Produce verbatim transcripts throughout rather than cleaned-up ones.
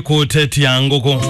Kũtetia ngũkũ.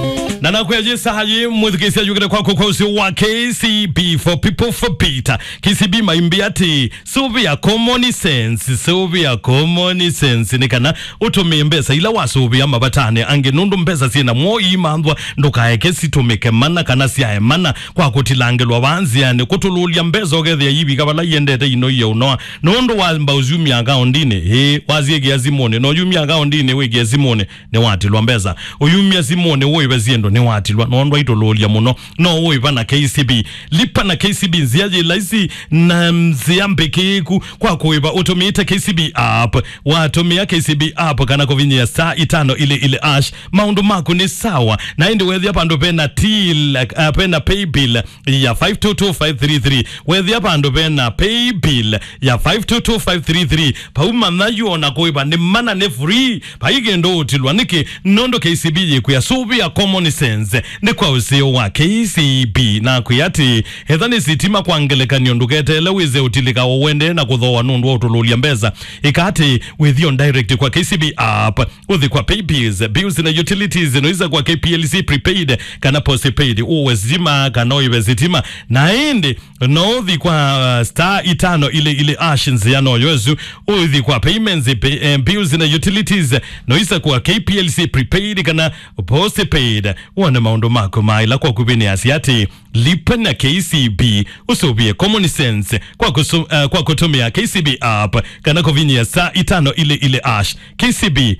Na nakwĩa yĩsa yĩ mwĩthukĩĩsya yũkĩte kwaku kwa ũsĩ wa K C B for people for Peter. K C B maimbĩ atĩ, sũvĩa common sense, sũvĩa common sense, nĩ kana ũtũmĩe mbesa ila wasũvĩa mavatanĩ angĩ, nũndũ mbesa syĩ na mwo iimanthwa, ndũkaeke sitũmĩke mana kana syae mana kwa kũtilangĩlwa vaa nzĩanĩ, kũtũlũlya mbesa ũkethĩa yivika vala iendete ino iye ũnoa, nũndũ wamba ũsyumya akaũndinĩ, ĩĩ, wasyĩkĩa simũnĩ, na ũyumya akaũndinĩ wĩkĩe simũnĩ, nĩwatilwa mbesa. Ũyumya simũnĩ ũĩve syĩndũ nĩwatilwa, nũndũ aitũlũlya mũno. No ũĩva na K C B. Lipa na K C B, nzĩa yĩ laisi na nzĩa mbĩkĩĩku kwa kũĩva ũtũmĩĩte K C B app. Watũmĩa K C B app kana kũvinyĩa star itano ile ile hash, maũndũ maku nĩ sawa. Na ĩndĩ wethĩa vandũ vena till, uh, vena pay bill ya five two two five three three. Wethĩa vandũ vena pay bill ya five two two five three three, vau manya yu ona kũĩva nĩ mana, nĩ free. Vai kĩndũ ũtilwa nĩkĩ, nũndũ K C B yĩkwĩa sũvĩa common sense nĩ kwa ũseo wa K C B. Na kwĩa atĩ, etha nĩ sitima kwa ngelekany'o, ndũketeele wĩse ũtilĩka o wendee na kũthooa nũndũ wa ũtũlũlya mbesa. Ĩka atĩ, wĩthio direct kwa K C B app, ũthi kwa pay bills, bills na utilities, noisa kwa K P L C prepaid kana postpaid, ũwe sitima kana ũive sitima. Na ĩndĩ, no ũthi kwa, uh, star itano ile ile hash nzĩa noyo ĩsu, ũthi kwa payments, pay, eh, bills na utilities, noisa kwa K P L C prepaid kana postpaid, wone maũndũ maku maĩla kwa kũvinĩasya atĩ, lipa na K C B, ũsũvĩe common sense kwa kũsũ-, uh, kwa kũtũmĩa K C B app kana kũvinyĩa star itano ile ile hash. K C B.